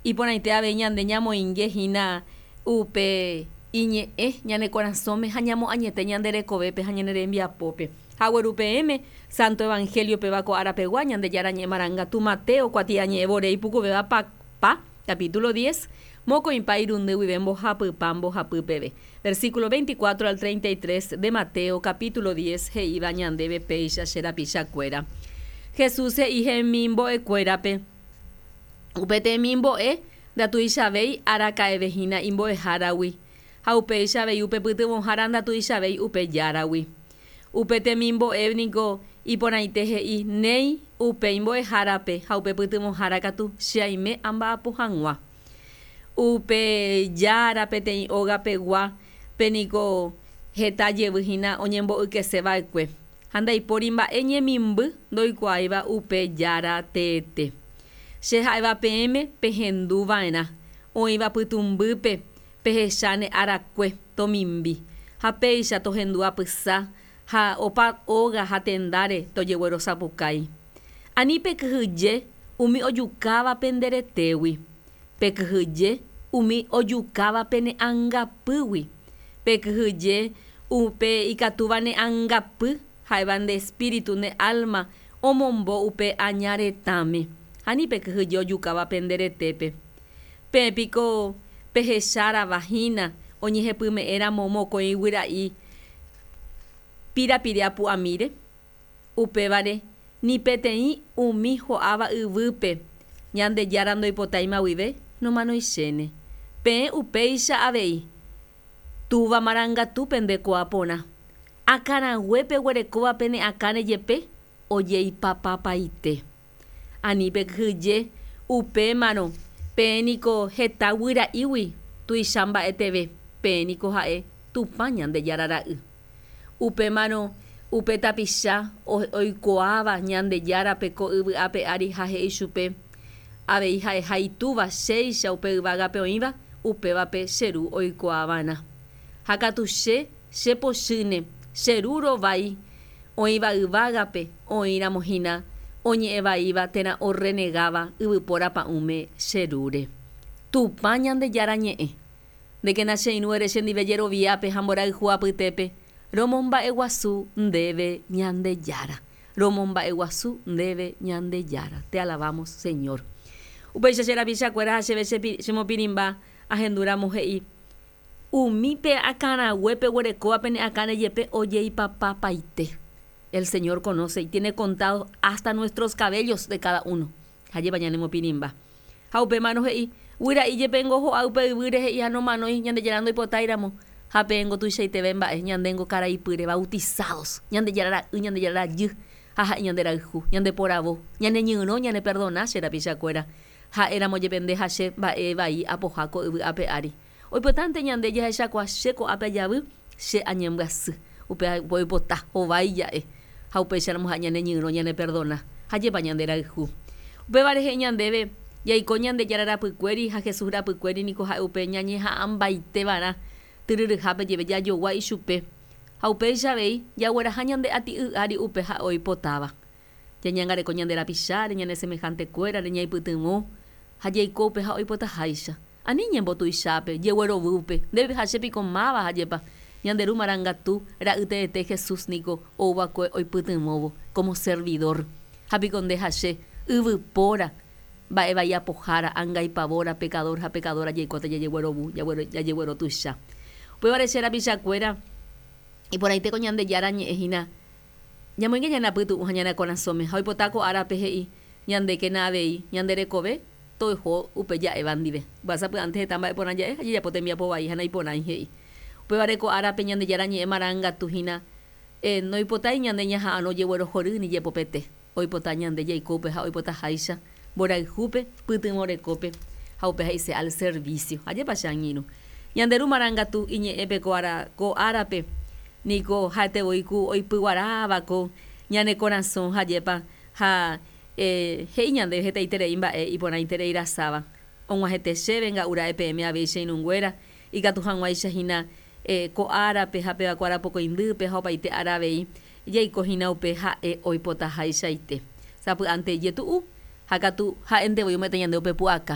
Iporãite avei ñande ñamoinge hína upe iñe'ẽ ñane korasõme ha ñamoañete ñande rekovépe ha ñane rembiapópe. Ha agueru peẽme Santo Evangelio péva ko ára pegua Ñandejára ñe'ẽ marangatu Mateo kuatiañe'ẽ vore ipukuvéva pa pa, capítulo diez, mokõipa irundy guive mbohapypa mbohapy peve. Versículo 24 al 33 de Mateo capítulo diez he'íva ñandéve péicha che rapichakuéra. Jesús he'i hemimbo'ekuérape. Upe temimbo'e ndatuichavéi araka'eve hína imbo'eháragui, ha upéicha avei upe pytyvõhára ndatuichavéi upe járagui. Upe temimbo'e niko iporãite he'i, Néi, upe imbo'ehárape ha upe pytyvõhára katu che aime amba'apo hag̃ua. Upe jára peteĩ óga pegua pe niko heta jevy hína oñembo'ykese va'ekue. Ha ndaipóri mba'e ñemimby ndoikuaáiva upe Jára teete. Che ha'éva peẽme pehendu va'erã, oĩva pytũmbýpe pehecháne arakue tomimbi, ha péicha tohendu apysa ha opa óga ha tendáre tojeguerosapukái. Ani pekyhyje umi ojukáva pende retégui, pekyhyje umi ojukáva pene angapýgui. Pekyhyje upe ikatúva ne angapy ha'éva nde espíritu, ne álma, omombo upe aña retãme. Ha ani pekyhyje ojukáva pende retépe. Peẽ piko pehechárava hína oñehepyme'ẽ ramo mokõi guyra'i pirapire apu'amíre? Upévare, ni peteĩ umi ho'áva yvýpe Ñandejára ndoipotáima guive nomanoichéne. Peẽ upéicha avei, Túva marangatu pendekuaa porã. Akãrague peguerekóva pene akãre jepe ojeipapapaite. Ani pekyhyje upémarõ, peẽ niko heta guyra'ígui tuicha mba'eteve, peẽ niko ha'e Tupã Ñandejára ra'y. Upémarõ upe tapicha oikuaáva Ñandejárape ko yvy ape ári ha he'i chupe avei ha'eha Itúva chéicha upe yvágape oĩva, upévape che Ru oikuaava'erã. Ha katu che, che pochýne, che Ru rovái oĩva yvágape oĩramo hína oñe'ẽ vaíva térã orrenegáva yvypóra pa'ũme che Rúre. Tupã Ñandejára ñe'ẽ. Ndékena che irũ ere chendive jeroviápe ha mborayhu apytépe, romomba'eguasu ndéve Ñandejára. Romomba'eguasu ndéve Ñandejára. Te alabamos, Señor. Upéicha che rapichakuéra ha chéve chemopirĩmba ahendu ramo he'i, Umi pe akãrague peguerekóva pene akãre jepe ojeipapapaite. El Señor conoce y tiene contados hasta nuestros cabellos de cada uno. Ajépa ñanemopirĩmba. Ha upémarõ he'i, Guyra'i jepengo ho'a upe yvýre he'i ha nomanói Ñandejára ndoipotáiramo, ha peẽngo tuichaiteve mba'e, ñandéngo karai pýre, bautizados, Ñandejára ra'y, Ñandejára rajy, ha ha'e ñande rayhu, ñande poravo, ñane ñyrõ, ñane perdona che rapichakuéra, ha'éramo jepe nde ha che mba'e vai apoha ko yvy ape ári. Oipotánte ñande jahechakuaa che ko'ápe ajavy, che añembyasy. Upéva oipota, hovái ja'e. Ha upéicharamo ha'e ñane ñyrõ, ñane perdona, ha jepa ñande rayhu. Upéva rehe ñandéve, jaiko Ñandejára rapykuéri ha Jesús rapykuéri niko ha'e upe ñañeha'ãmbaite va'erã tyryryhápe jeve jajogua ichupe. Ha upéicha avei, jagueraha ñande ati'y ári upe ha'e oipotáva. Ñañangareko ñande rapicháre, ñane semehantekuérare, ñaipytyvõ ha jaiko upe ha'e oipotaháicha. Ani ñembotuichápe, jeguerovýpe, ndéve ha che piko máva ha jepa, ñande Ru Marangatu Ra'y teete Jesús niko ou va'ekue oipytyvõvo como servidor. Ha piko nde ha che, yvypóra, mba'e vai apohára, angaipavóra, pecador ha pecadora jaikóta jajeguerovu, jajeguerotuicha. Upévare che rapichakuéra, iporãite ko Ñandejára ñe'ẽ hína, ñamoinge ñane apytu'ũ ha ñane korasõme, ha oipota ko árape he'i, ñandékena avei, ñande rekove, Toiho upe ja'éva ndive. Upéva sapy'ánte heta mba'e porã ja'e ha jajapo tembiapo vai ha naiporãi he'i. Upévare ko árape Ñandejára ñe'ẽ marangatu hína, noipotái ñande ñaha'arõ jeguerohory ni jepopete. Oipota ñande jaiko upe ha oipotaháicha, mborayhúpe, pytyvõ rekópe, ha upe he'ise al servicio. Ajépa che angirũ. Ñande Ru marangatu iñe'ẽpe ko ára, ko árape niko ha'ete voi ku oipyguaráva ko ñane korasõ ha ajépa ha He'i ñandéve hetaiterei mba'e iporãiterei rasáva. Og̃uahẽte chéve nga'u ra'e peẽme avei che irũnguéra, ikatu hag̃uáicha hína ko árape ha péva ko arapokõindýpe ha opaite ára avei jaiko hína upe ha'e oipotahaichaite. Sapy'ánte ijetu'u, ha katu ha'énte voi ome'ẽta ñande upe pu'aka.